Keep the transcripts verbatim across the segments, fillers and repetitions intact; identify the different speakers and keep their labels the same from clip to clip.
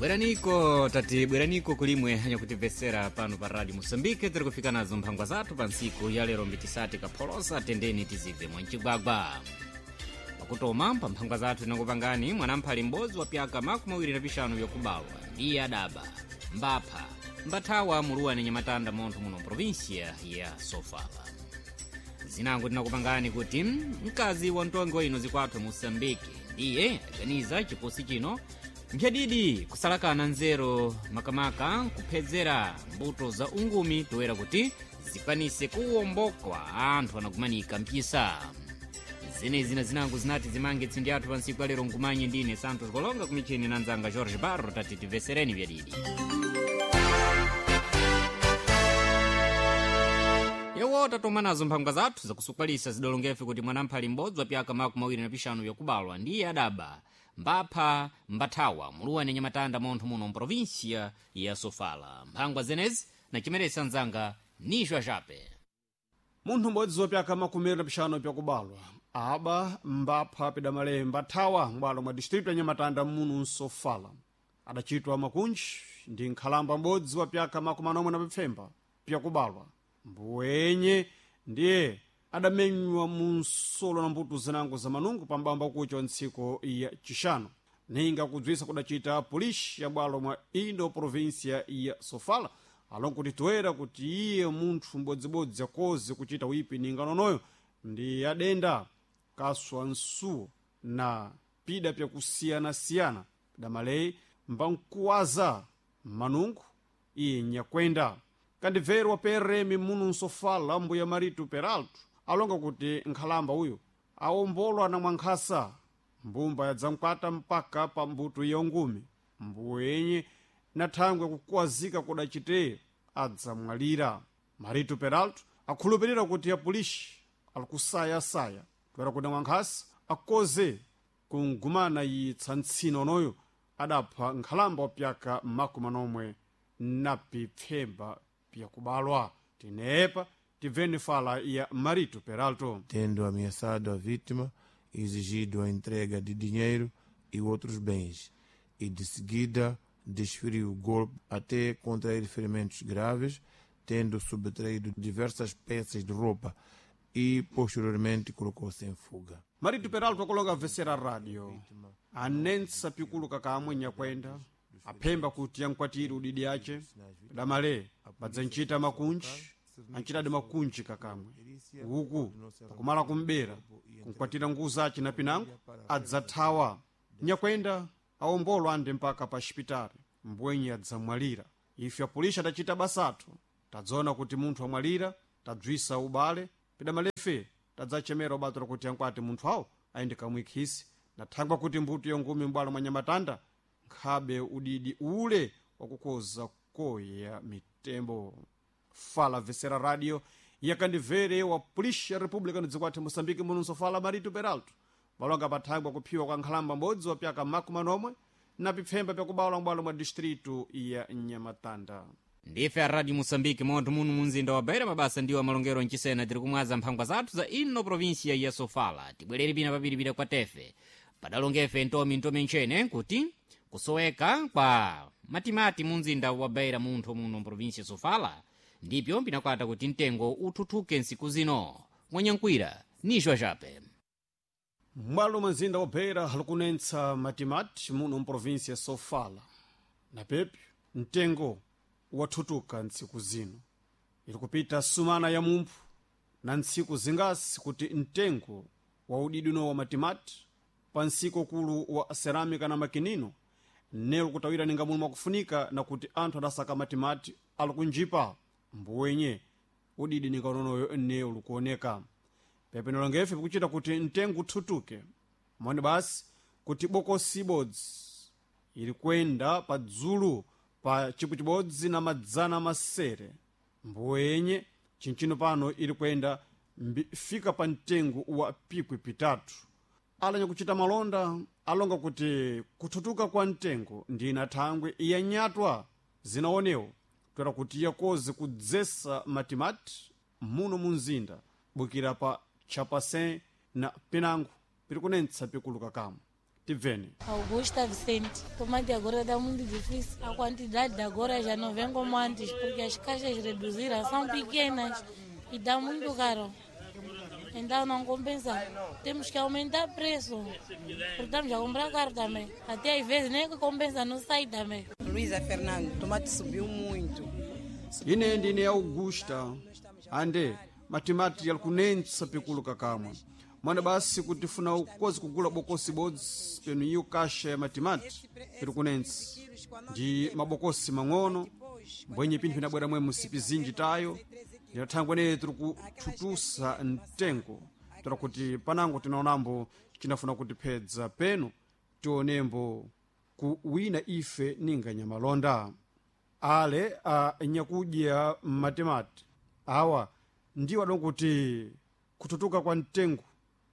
Speaker 1: Bweraniko tati bweraniko kulimwe anyakutimvetsera pano pa radio Moçambique. Tiri kufika nazo mphangwa zathu pa ntsiku ya lero mbitisati kapholosa tendeni tizibve mwancigwagwa pakutoma pa mphangwa zathu tinakupangani mwanamphali m'bodzi wa pyaka makumi awiri na pixanu vyakubawa ndiye adaba mbapha mbathawa muluwani nyamatanda montho muno mprovinsia ya Sofala. Zinango tinakupangani kuti mkazi wa mtongi wa ino zikwathu Moçambique ndiye aganiza chiposi chino mphyadidi kusalakana nzeru makamaka kuphedzera mbuto za ungumi toera kuti zikwanise kuwombokwa anthu anakumanika mpisa. Zenezi na zinango zinati zimange tsindi athu pa ntsiku alero nkumanye ndine Santos Kolonga kumichini na nzanga Jorge Barro tati timvesereni vyadidi. Yewo tatoma nazo mphangwa zathu zakusukwalisa zidolongefe kuti mwanamphali m'bodzi wa pyaka makumi awiri na pixanu vyakubalwa ndiye adaba mbapha mbathawa muluwani nyamatanda montho muno mprovinsia ya Sofala. Mphangwa zenezi nachimeresa nzanga nixwa xape.
Speaker 2: Munthu m'bodzi wa pyaka makumi awiri na pixanu pyakubalwa aba mbapha pidamale mbathawa m'bwalo mwa distritu ya Nyamatanda muno Nsofala adachitwa makunji ndi nkhalamba m'bodzi wa pyaka makumi anomwe na pipfemba pyakubalwa mbuwenye ndiye adamenywa mu nsolo na mbuto zinango za manungu pambamba kucha wa ntsiko ya chixano ninga kudzwisa kudacita polisi ya bwalo mwa indo provinsia ya Sofala alongo kuti toera kuti iye munthu m'bodzibodzi akoze kuchita wipi ninga nonoyo ndi adenda kaswa nsuwo na pida pyakusiyanasiyana pidamaleyi mbankuwaza manungu iye nyakwenda kandibveri wa P R M munu Nsofala mbuya Marito Peralto alonga kuti nkhalamba uyu awombolwa na mwankhasa mbumba yadzamkwata mpaka pa mbuto ya ungumi mbuwenye na thangwe kukuwazika kudacite adzamwalira. Marito Peralto akhulupirira kuti apolisi alikusayasaya toera kuti mwankhasa akoze kungumana yitsa ntsina onoyo adapha nkhalamba wa pyaka makumi anomwe na pipfemba pyakubalwa. Tinepa tibveni fala ya Marito Peralto.
Speaker 3: Tendo ameaçado a vítima, exigido a entrega de dinheiro e outros bens, e de seguida desferiu o golpe até contrair ferimentos graves, tendo subtraído diversas peças de roupa e posteriormente colocou-se em fuga.
Speaker 2: Marito Peralto akulonga vesera radio anensa pikuluka kamwe nyakwenda aphemba kuti yankwatire udidi ace damale badzanchita makunji anchitadi makunji kakamwe uku pakumala kumbera kunkwatira nguwu zace na pinango adzathawa nyakwenda awombolwa ande mpaka pa xipitali mbwenye adzamwalira. Ife apolisi adacita basathu tadzaona kuti munthu amwalira tadzwisa ubale pidamalefe tadzachemera ubatira kuti ankwati munthu awo ayende kamwikhisi na thangwa kuti mbuto yongumi m'bwalo mwa Nyamatanda nkhabe udidi ule wakukoza koya mitembo. Fala vesera radio yakandivere wa polisi ya república no dziko Moçambique muno Nsofala Marito Peralto balonga pathangwa kuphiwa kwa nkhalamba m'bodzi wa pyaka makumi anomwe na pipfemba pyakubawula m'bwalo mwa distritu ya Nyamatanda.
Speaker 1: Ndife a radio Moçambique montho muno munzinda wa Beira mabasa ndiwo amalongero mchisena tiri kumwaza mphangwa zathu za ino provinsia ya Sofala. Tibwerere pina papiripira kwa tefe padalongefe ntomi ntomi ntchene kuti kusoweka kwa matimati munzinda wa Beira munthu muno mprovinsia Sofala ndipyo pinakwata kuti mtengo uthuthuke nsiku zino. Mwanyankwira nixwa xape.
Speaker 2: M'bwalo mwa mzinda wa Beira likunentsa matimati muno mprovinsia ya Sofala na pepyo mtengo wathutuka ntsiku zino ili kupita sumana ya mumphu na ntsiku zingasi kuti mtengo wa udidi uno wa matimati pa nsiko kulu wa cerâmica na makinino nelo kutawira ninga muno mwakufunika na kuti anthu adasaka matimati alikunjipa mbuwenye udidi ninga unonoyo neo likuoneka pepe nolongefe pikuchita kuti mtengo uthutuke moni basi kuti bokosi ibodzi ili kwenda pa dzulu pa chipu chibodzi na madzana masere mbuwenye chinchino pano ili kwenda fika pa mtengo wa pikwi pitatu. Alanya kuchita malonda alonga kuti kuthutuka kwa mtengo ndi ina thangwe yanyatwa zinaonewo toera kuti yakoze kudzesa matimati muno mu mzinda bukira pa chapasin na pinango piri kunentsa pikuluka kamwe. Tibveni.
Speaker 4: Augusta Vicente. Tomate agora está muito difícil. A quantidade de agora já não vem como antes, porque as caixas reduziram, são pequenas e dá muito caro. Então não compensa. Temos que aumentar o preço, porque estamos a comprar caro também. Até às vezes nem compensa, não sai também.
Speaker 5: Luísa Fernando, tomate subiu muito.
Speaker 2: Ine ndine Augusta. Ande matimati yalikunentsa pikulu kakamwa mwana basi kuti funa ukozi kugula bokosi bodzi penu iyo kasha ya matimati piri kunentsa ndi mabokosi mang'ono mbwenye pinthu inabwera mwe musipi zinji tayo ndinathangwa neye tiri kuthutusa mtengo tira kuti panango tinaonambo cinafuna kutiphedza penu tionembo ku wina ife ninga nyamalonda ale a nyakudya matimati awa ndiwo adonkuti kututuka kwa mtengo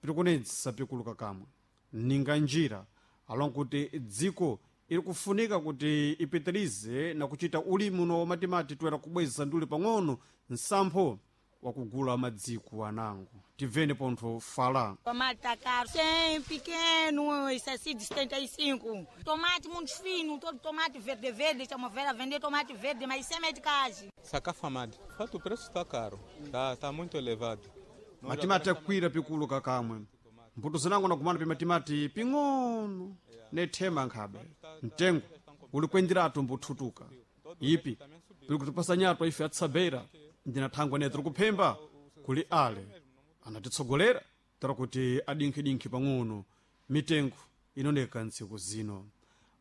Speaker 2: pirikunetsa pikuluka kamwe ninga njira alonkuti dziko iri kufunika kuti ipitirize na kuchita ulimi uno wamatimati toera kubweza nduli pang'ono nsampho wakugula madziko anango. Tibveni pontho fala.
Speaker 6: Tomate tá caro, cem, pequeno, esse assim de setenta e cinco. Tomate muito fino, todo tomate verde, verde, estamos a vender tomate verde, mas sem meticagem.
Speaker 7: Sacafamad, fato o preço está caro, está tá muito elevado.
Speaker 2: Matimati akwira pikuluka kamwe mbuto zinango nakumana pimatimati ping'ono nethema nkhabe mtengo uli kwenderatu mbuthutuka ipi pili kutipasa nyatwa ife atsabera ndinathangwa ne tiri kuphemba kuli ale anatitsogolera tira kuti adinkhidinkhi pang'ono mitengo inoneka ntsiku zino.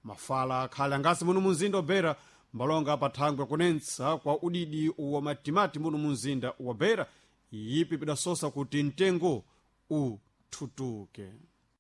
Speaker 2: Mafala akhale angasi muno munzinda wa Beira mbalonga pathangwe kunentsa kwa udidi wa matimati muno munzinda wa Beira ipi pidasosa kuti mtengo uthutuke.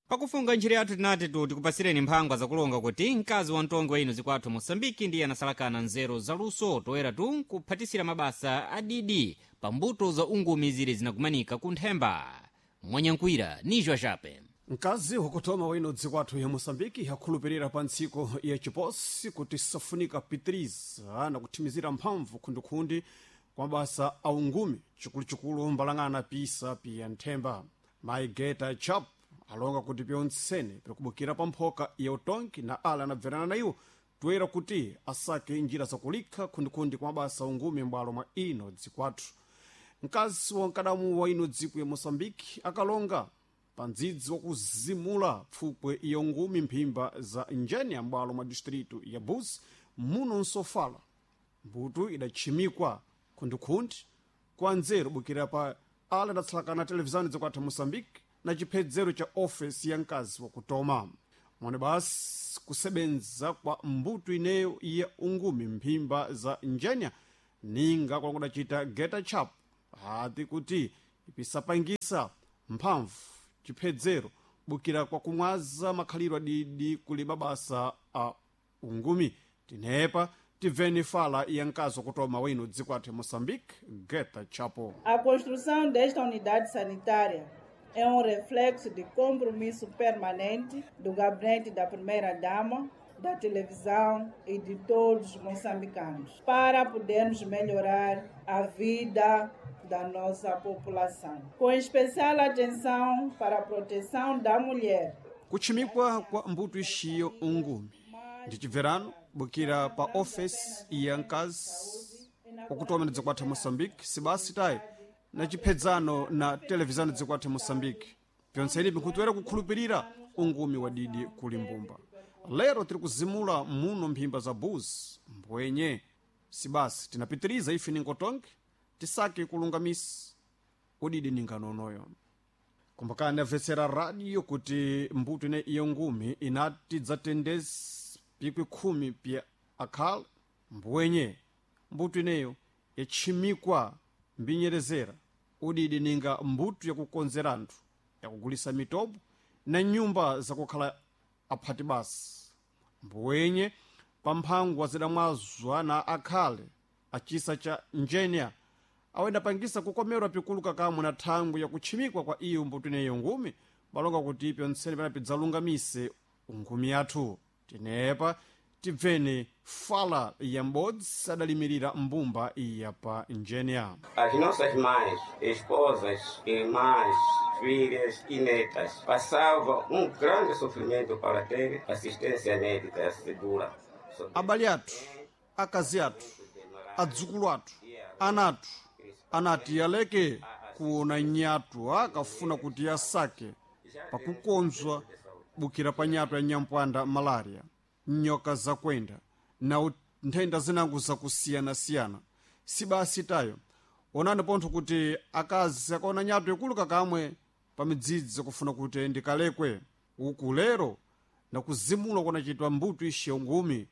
Speaker 1: Pakufunga ntchito yathu tinati tu tikupasireni mphangwa zakulonga kuti mkazi wa mtongi wa ino zikwathu Moçambike ndiye anasalakana nzeru zaluso toera tu nkuphatisira mabasa adidi pa mbuto za ungumi zili zinakumanika ku nthemba. Mwanyankwira nijo achape.
Speaker 2: Mkazi wakutoma wino dziko athu ya Moçambike akhulupirira pa ntsiko ya chiposi kuti safunika pitiriza na kuthimizira mphamvu khundikhundi kwa mabasa a ungumi chikuluchikulu mbalang'ana pisa piya nthemba. Maigeta Chap alonga kuti pyontsene pikubukira pa mphoka ya utongi na ala anabverana na iwo toera kuti asake njira zakulikha khundikhundi kwa mabasa a ungumi m'bwalo mwa ino dziko athu. Mkazi wa mkadamu wa ino dziko ya Moçambike akalonga pa ndzidzi wakuzimula pfupwe ya ungumi mphimba za njeni m'bwalo mwa distritu ya Buzi muno nsofala. Mbuto idatchimikwa khundikhundi kwa nzeru bukira pa ala adatsalakana televizani zakwathu Moçambique na chiphedzero cha ofesi ya mkazi wakutoma mwone basi kusebenza kwa mbuto ineyo ya ungumi mphimba za njenya ninga kwakudacita geta chap hati kuti ipisapangisa mphamvu chiphedzero bukira kwa kumwaza makhalidwe adidi kuli mabasa a ungumi. Tinepa tibveni fala ya mkazi wakutoma wino dziko athu Moçambique Geta Chapo.
Speaker 8: A construção desta unidade sanitária é um reflexo de compromisso permanente do gabinete da primeira-dama, da televisão e de todos os moçambicanos, para podermos melhorar a vida da nossa população, com especial atenção para a proteção da mulher.
Speaker 2: Kuchimikwa kwa mbuto ixiyo ungumi ndi chibverano bukira pa ofesi ya mkazi wakutoma ndi dziko athu Moçambique sibasi tayi na chiphedzano na televizani dziko athu Moçambique pyontseni pinkhutiwera kukhulupirira ungumi wa didi kuli mbumba. Lero tiri kuzimula muno mphimba za Buzi mbwenye sibasi tinapitiriza ife ningotonke tisake kulungamisa udidi ninganonoyo. Kumbukani amvetsera radio kuti mbuto ine iyo ngumi inati dzatendezi pikwi khumi pya akhale mbwenye mbuto ineyo yatchimikwa mbinyerezera udidi ninga mbuto yakukonzera anthu yakugulisa mitobo na nyumba zakukhala aphati basi mbwenye pa mphangwa zidamwazwa na akhale achisa cha njenya awendapangisa kukomerwa pikuluka kamwe na thangwi yakutchimikwa kwa iyo mbuto ineyo ngumi balonga kuti pyontsene panapi dzalungamise ngumi yathu. Tinepa tibveni fala ya m'bodzi adalimirira mbumba ya pa njenya.
Speaker 9: As nossas mães, esposas, irmãs, filhas e netas passavam um grande sofrimento para ter assistência médica segura.
Speaker 2: Abale athu, akazi athu, adzukulu athu, ana athu anati aleke kuona nyatu akafuna kuti asake pakukonzwa bukira pa nyatu ya nyampwanda malaria, nyoka zakwenda na nthenda zinango zakusiyanasiyana. Si basi tayo, onani pontho kuti akazi akaona nyatu ikulu kakamwe pa midzidzi kufuna kuti ndikalekwe uku lero nakuzimula kunachitwa mbuto ixe ngumi.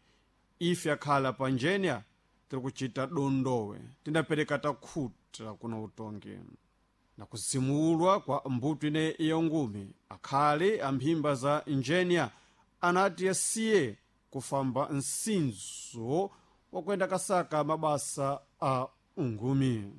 Speaker 2: Ife akhala pa njenya tiri kuchita dondowe, tindapereka takhuta kuna utongi nakuzimulwa kwa mbuto ine iyo ngumi. Akhale amphimba za njenya anati asiye kufamba msinzo wakwenda kasaka mabasa a ungumi.